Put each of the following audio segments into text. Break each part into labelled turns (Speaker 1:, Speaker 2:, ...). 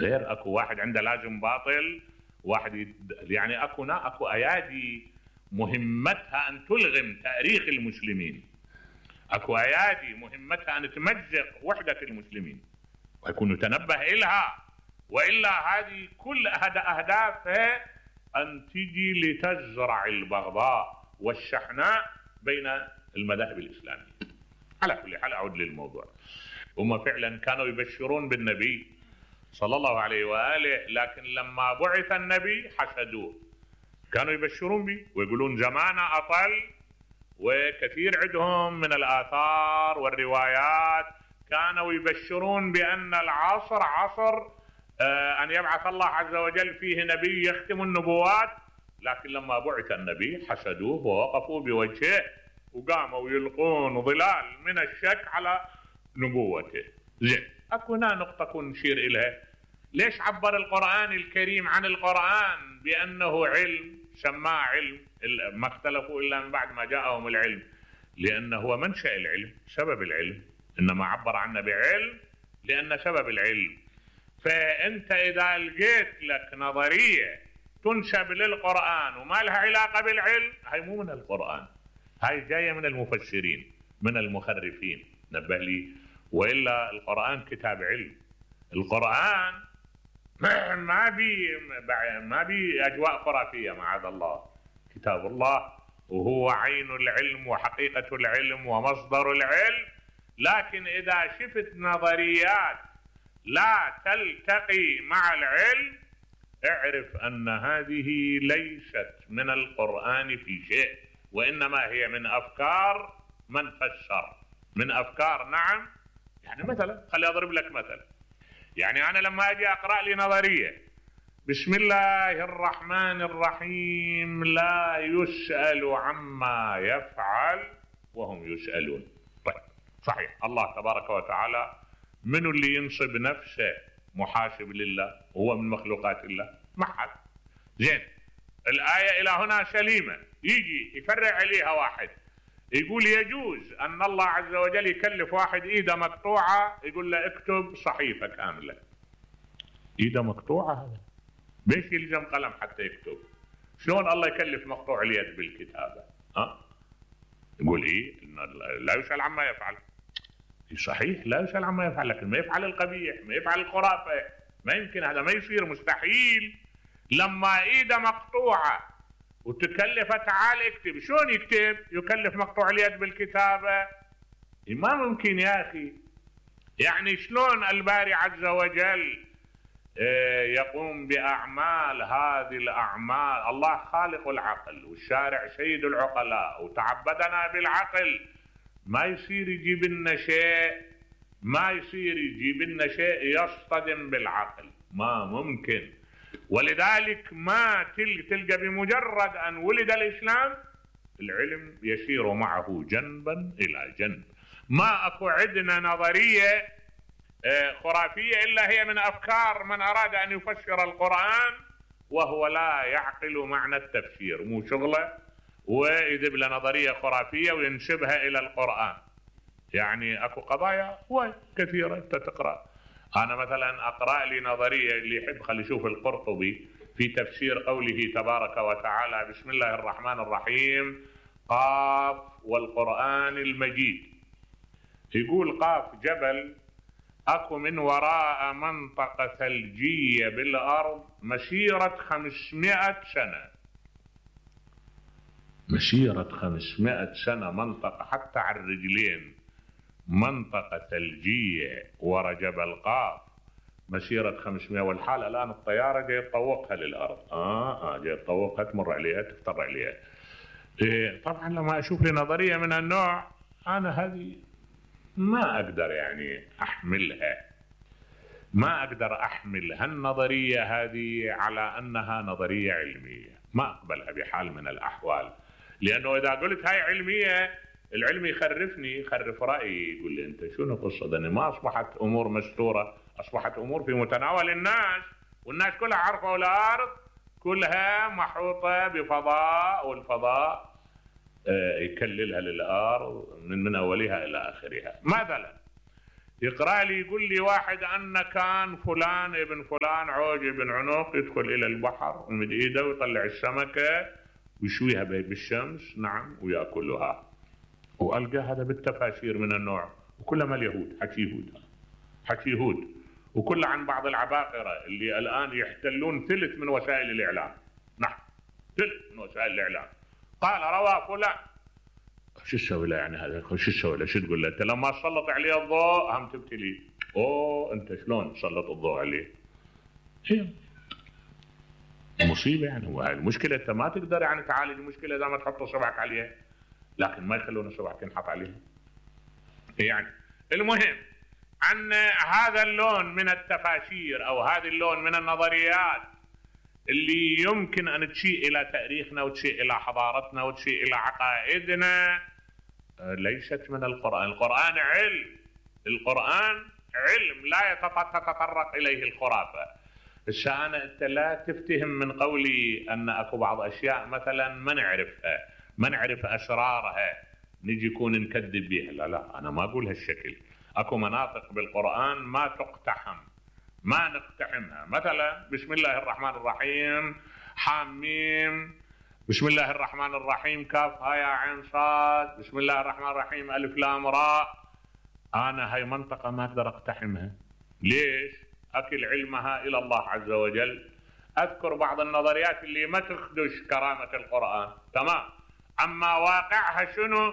Speaker 1: غير اكو واحد عنده لازم باطل، واحد يعني اكو ايادي مهمتها ان تلغم تاريخ المسلمين، اكو ايادي مهمتها ان تمزق وحدة المسلمين، ويكون يتنبه الها، والا هذه كل اهدافها ان تجي لتزرع البغضاء والشحناء بين المذاهب الاسلاميه. على كل حال اعود للموضوع، هم فعلا كانوا يبشرون بالنبي صلى الله عليه واله، لكن لما بعث النبي حسدوه. كانوا يبشرون به ويقولون زمانه اطل، وكثير عندهم من الاثار والروايات كانوا يبشرون بان العصر عصر ان يبعث الله عز وجل فيه نبي يختم النبوات، لكن لما بعث النبي حسدوه ووقفوا بوجهه وقاموا يلقون ظلال من الشك على نبوته. زين، اكو هنا نقطة نشير اليها. ليش عبر القرآن الكريم عن القرآن بأنه علم، سماه علم، ما اختلفوا إلا من بعد ما جاءهم العلم، لأنه هو منشأ العلم، سبب العلم، إنما عبر عنه بعلم لأن سبب العلم. فأنت إذا لقيت لك نظرية تنسب للقرآن وما لها علاقة بالعلم، هاي مو من القرآن، هاي جاية من المفسرين، من المخرفين، نبه لي. وإلا القرآن كتاب علم، القرآن ما بي أجواء خرافية معاذ الله، كتاب الله وهو عين العلم وحقيقة العلم ومصدر العلم. لكن إذا شفت نظريات لا تلتقي مع العلم، اعرف أن هذه ليست من القرآن في شيء، وإنما هي من أفكار من فسر، من أفكار. نعم، يعني مثلا خلي أضرب لك مثل. يعني أنا لما أجي أقرأ لي نظرية بسم الله الرحمن الرحيم لا يسأل عما يفعل وهم يسألون. طيب صحيح، الله تبارك وتعالى من اللي ينصب نفسه محاسب لله؟ هو من مخلوقات الله؟ ما حد. زين، الآية إلى هنا سليمة، يجي يفرع عليها واحد يقول يجوز أن الله عز وجل يكلف واحد إيده مقطوعة يقول له اكتب صحيفة كاملة. إيده مقطوعة هذا بيش يلزم قلم حتى يكتب؟ شلون الله يكلف مقطوع اليد بالكتابة؟ يقول إيه؟ لا يسأل عما يفعل. صحيح لا يسأل عما يفعل، لكن ما يفعل القبيح، ما يفعل الخرافة، ما يمكن، هذا ما يصير، مستحيل. لما إيده مقطوعة وتكلف تعال اكتب، شلون يكتب؟ يكلف مقطوع اليد بالكتابة؟ ما ممكن يا أخي. يعني شلون الباري عز وجل يقوم بأعمال هذه الأعمال؟ الله خالق العقل والشارع سيد العقلاء وتعبدنا بالعقل، ما يصير يجيب لنا شيء، ما يصير يجيب لنا شيء يصطدم بالعقل، ما ممكن. ولذلك ما تلقى بمجرد أن ولد الإسلام العلم يسير معه جنبا إلى جنب. ما أكو عندنا نظرية خرافية إلا هي من أفكار من أراد أن يفسر القرآن وهو لا يعقل معنى التفسير، مو شغله، ويذب له نظرية خرافية وينسبها إلى القرآن. يعني أكو قضايا كثيرة تقرأ. أنا مثلا أقرأ لي نظرية، اللي يحب خلي يشوف القرطبي في تفسير قوله تبارك وتعالى بسم الله الرحمن الرحيم قاف والقرآن المجيد. يقول قاف جبل أكو من وراء منطقة ثلجية بالأرض مسيرة 500 سنة، مسيرة 500 سنة، منطقة حتى على الرجلين، منطقة ثلجية ورا جبل قاف مسيرة 500، والحال الآن الطيارة جاي تطوقها للأرض. جاي تطوقها، تمر عليها، تفتر عليها. طبعا لما أشوف لي نظرية من النوع أنا هذه ما أقدر يعني أحملها، ما أقدر أحمل هالنظرية هذه على أنها نظرية علمية، ما أقبلها بحال من الأحوال. لأنه إذا قلت هاي علمية العلم يخرفني، يخرف رأيي، يقول لي أنت شنو قصة؟ أن ما أصبحت أمور مستورة، أصبحت أمور في متناول الناس، والناس كلها عارفة، والأرض كلها محوطة بفضاء، والفضاء يكللها للأرض من أولها إلى آخرها. مثلا يقرأ لي يقول لي واحد أن كان فلان ابن فلان عوج ابن عنق يدخل إلى البحر ومد إيده ويطلع السمكة ويشويها بالشمس، نعم، ويأكلها. وألقى هذا بالتفاسير من النوع، وكلها مال يهود، حكي يهود، وكله عن بعض العباقرة اللي الآن يحتلون ثلث من وسائل الإعلام. نعم، ثلث من وسائل الإعلام. قال روى فلان. شو تسوي له يعني هذا؟ شو تسوي له؟ شو تقول له؟ انت لما تسلط عليه الضوء هم تبتلي. اوه انت شلون تسلط الضوء عليه؟ هي مصيبه يعني. هو هاي المشكله انت ما تقدر يعني تعالج المشكله اذا ما تحط صبعك عليها، لكن ما يخلون صبعك ينحط عليها. يعني المهم عن هذا اللون من التفاسير او هذا اللون من النظريات اللي يمكن ان تشيء الى تاريخنا وتشيء الى حضارتنا وتشيء الى عقائدنا، ليست من القرآن. القرآن علم، القرآن علم لا تتطرق إليه الخرافة. هسه أنا أنت لا تفتهم من قولي أن أكو بعض أشياء مثلا ما نعرفها، ما نعرف أسرارها، نجي يكون نكذب بها. لا لا، أنا ما أقول هالشكل. أكو مناطق بالقرآن ما تقتحم، ما نقتحمها. مثلا بسم الله الرحمن الرحيم حاميم، بسم الله الرحمن الرحيم كاف ها يا عين صاد، بسم الله الرحمن الرحيم ألف لام راء. أنا هاي منطقة ما أقدر أقتحمها. ليش؟ أكل علمها إلى الله عز وجل. أذكر بعض النظريات اللي ما تخدش كرامة القرآن، تمام، أما واقعها شنو؟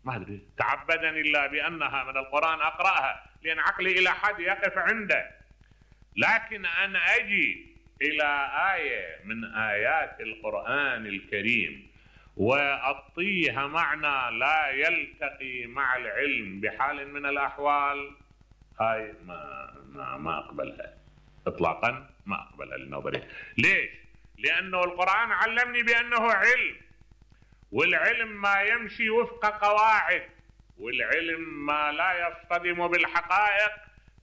Speaker 1: ما أدري. تعبدني الله بأنها من القرآن أقرأها، لأن عقلي إلى حد يقف عنده. لكن أن أجي إلى آية من آيات القرآن الكريم وأعطيها معنى لا يلتقي مع العلم بحال من الأحوال، هاي ما أقبلها إطلاقا، ما أقبلها النظرية. ليش؟ لأنه القرآن علمني بأنه علم، والعلم ما يمشي وفق قواعد، والعلم ما لا يصطدم بالحقائق،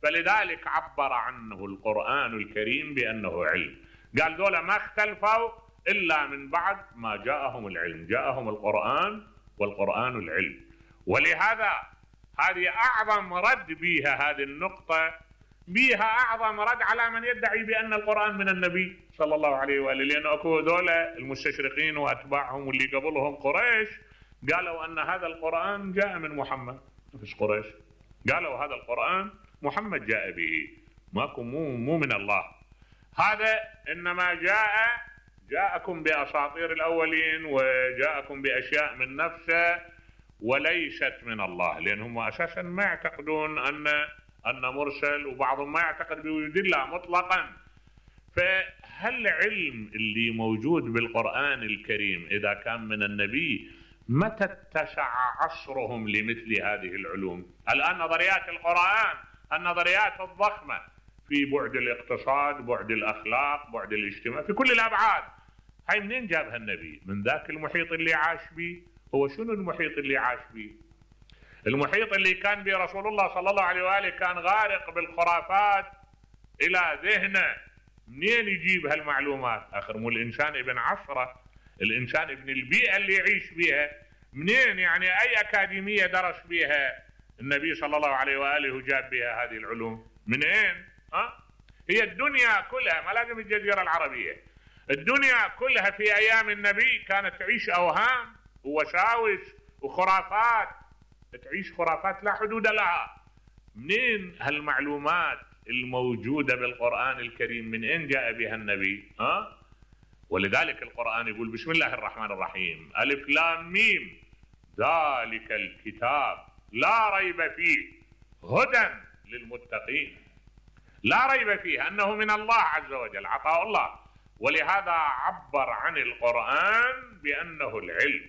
Speaker 1: فلذلك عبر عنه القرآن الكريم بأنه علم. قال دولة ما اختلفوا إلا من بعد ما جاءهم العلم، جاءهم القرآن والقرآن العلم. ولهذا هذه أعظم رد بها، هذه النقطة بها أعظم رد على من يدعي بأن القرآن من النبي صلى الله عليه وآله. لأن أكو دولة المستشرقين وأتباعهم واللي قبلهم قريش قالوا أن هذا القرآن جاء من محمد. مش قريش قالوا هذا القرآن محمد جاء به، ماكو مو من الله. هذا إنما جاءكم بأساطير الأولين وجاءكم بأشياء من نفسه وليست من الله، لأنهم أساسا ما يعتقدون أن مرسل، وبعضهم ما يعتقد بوجود الله مطلقا. فهل العلم اللي موجود بالقرآن الكريم إذا كان من النبي متى اتسع عصرهم لمثل هذه العلوم؟ الآن نظريات القرآن، النظريات الضخمة في بعد الاقتصاد، بعد الأخلاق، بعد الاجتماع، في كل الأبعاد، هاي منين جابها النبي؟ من ذاك المحيط اللي عاش به. هو شنو المحيط اللي عاش به؟ المحيط اللي كان به رسول الله صلى الله عليه وآله كان غارق بالخرافات إلى ذهنه. منين يجيب هالمعلومات؟ آخر مو الإنسان ابن عصره، الإنسان ابن البيئة اللي يعيش بها. منين يعني أي أكاديمية درس بها النبي صلى الله عليه وآله وجاب بها هذه العلوم؟ منين؟ هي الدنيا كلها، ما لازم الجزيرة العربية، الدنيا كلها في أيام النبي كانت تعيش أوهام ووساوس وخرافات، تعيش خرافات لا حدود لها. منين هالمعلومات الموجودة بالقرآن الكريم؟ من أين جاء بها النبي؟ ولذلك القرآن يقول بسم الله الرحمن الرحيم ألف لام ميم ذلك الكتاب لا ريب فيه هدى للمتقين. لا ريب فيه أنه من الله عز وجل، عطاء الله. ولهذا عبر عن القرآن بأنه العلم.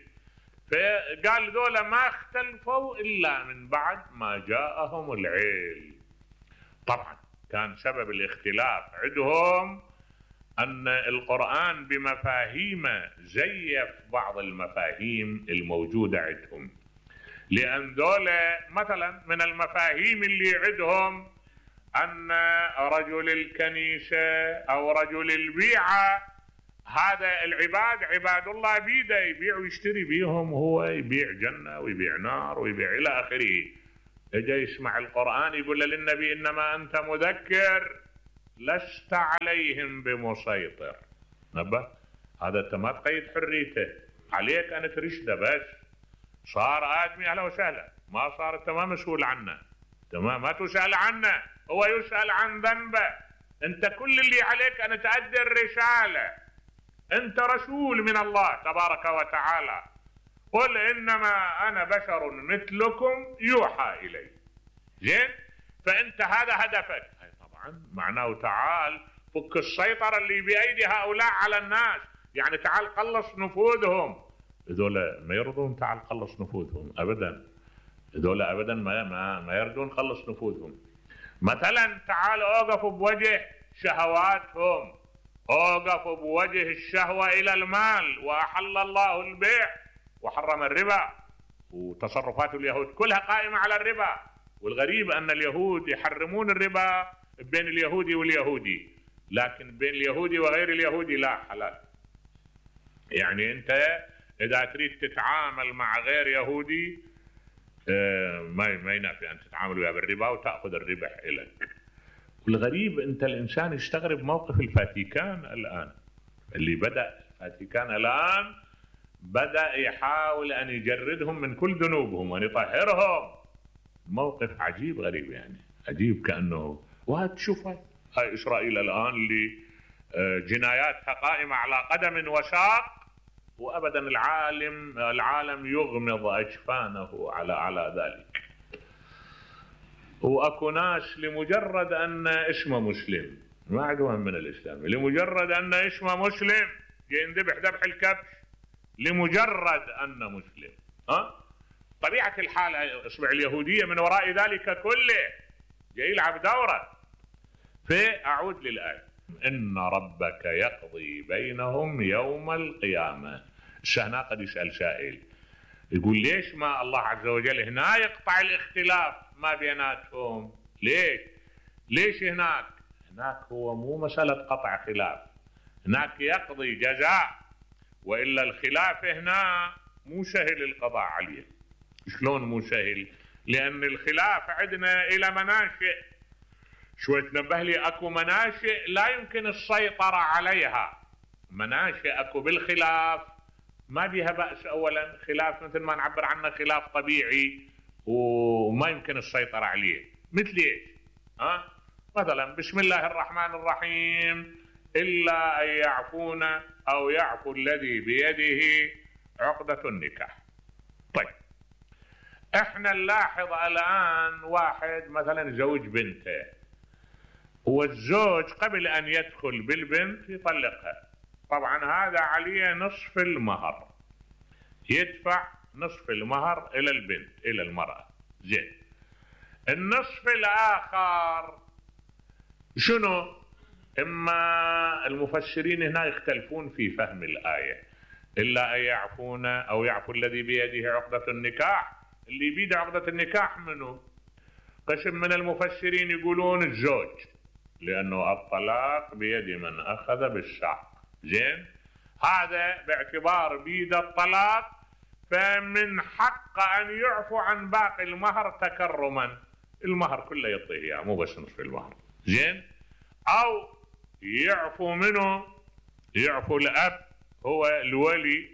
Speaker 1: فقال ذولا ما اختلفوا إلا من بعد ما جاءهم العلم. طبعا كان سبب الاختلاف عندهم أن القرآن بمفاهيمه زيف بعض المفاهيم الموجودة عندهم. لأن ذولا مثلا من المفاهيم اللي عندهم أن رجل الكنيسة أو رجل البيعة هذا العباد عباد الله بيده، يبيع ويشتري بيهم، هو يبيع جنة ويبيع نار ويبيع إلى آخره. اجى يسمع القرآن يقول للنبي انما انت مذكر لست عليهم بمسيطر. نبه هذا انت ما تقيد حريته، عليك ان ترشده بس. صار ادمي اهلا وسهلا، ما صار انت ما مسؤول عنه، تمام، ما تسأل عنه، هو يسأل عن ذنبه. انت كل اللي عليك ان تؤدي الرسالة، انت رسول من الله تبارك وتعالى. قل انما انا بشر مثلكم يوحى الي. زين، فانت هذا هدفك. طبعا معناه تعال فك السيطرة اللي بأيدي هؤلاء على الناس، يعني تعال قلص نفوذهم. هذول ما يرضون تعال قلص نفوذهم ابدا، هذول ابدا ما يرضون قلص نفوذهم. مثلا تعال اوقفوا بوجه شهواتهم، اوقفوا بوجه الشهوة الى المال، واحل الله البيع وحرم الربا، وتصرفات اليهود كلها قائمة على الربا. والغريب ان اليهود يحرمون الربا بين اليهودي واليهودي، لكن بين اليهودي وغير اليهودي لا، حلال. يعني انت اذا تريد تتعامل مع غير يهودي ما ينافي ان تتعامل وياه بالربا وتاخذ الربح لك. والغريب انت الانسان يستغرب موقف الفاتيكان الان، اللي بدا الفاتيكان الان بدا يحاول ان يجردهم من كل ذنوبهم وان يطهرهم. موقف عجيب غريب، يعني عجيب، كانه وهتشوف هاي اسرائيل الان اللي جناياتها قائمه على قدم وساق، وابدا العالم يغمض اجفانه على ذلك. واكو ناس لمجرد ان اسمه مسلم ما عندهم من الاسلام، لمجرد ان اسمه مسلم ينذبح ذبح الكبش لمجرد انه مسلم. طبيعه الحال اصبع اليهوديه من وراء ذلك كله جاي يلعب دوره. فاعود للايه، ان ربك يقضي بينهم يوم القيامه. هنا قد يسال سائل يقول ليش ما الله عز وجل هنا يقطع الاختلاف ما بيناتهم؟ ليش هناك هو مو مسألة قطع خلاف، هناك يقضي جزاء، وإلا الخلاف هنا مو سهل القضاء عليه. شلون مو سهل؟ لأن الخلاف عندنا إلى مناشئ. شوي تنبه لي، أكو مناشئ لا يمكن السيطرة عليها، مناشئ أكو بالخلاف ما بيها بأس. أولا خلاف مثل ما نعبر عنه خلاف طبيعي وما يمكن السيطرة عليه. مثل ايش؟ مثلا بسم الله الرحمن الرحيم إلا أن يعفون أو يعفو الذي بيده عقدة النكاح. طيب احنا نلاحظ الآن واحد مثلا زوج بنته، والزوج قبل أن يدخل بالبنت يطلقها، طبعا هذا عليه نصف المهر، يدفع نصف المهر إلى البنت إلى المرأة. زين، النصف الآخر شنو؟ إما المفسرين هنا يختلفون في فهم الآية، إلا أن يعفون أو يعفو الذي بيده عقدة النكاح. اللي بيده عقدة النكاح منه؟ قسم من المفسرين يقولون الزوج، لأنه الطلاق بيد من أخذ بالساق. زين، هذا باعتبار بيد الطلاق فمن حق أن يعفو عن باقي المهر تكرما، المهر كله يعطيه مو بس نصف المهر. زين، أو يعفو منه، يعفو الأب هو الولي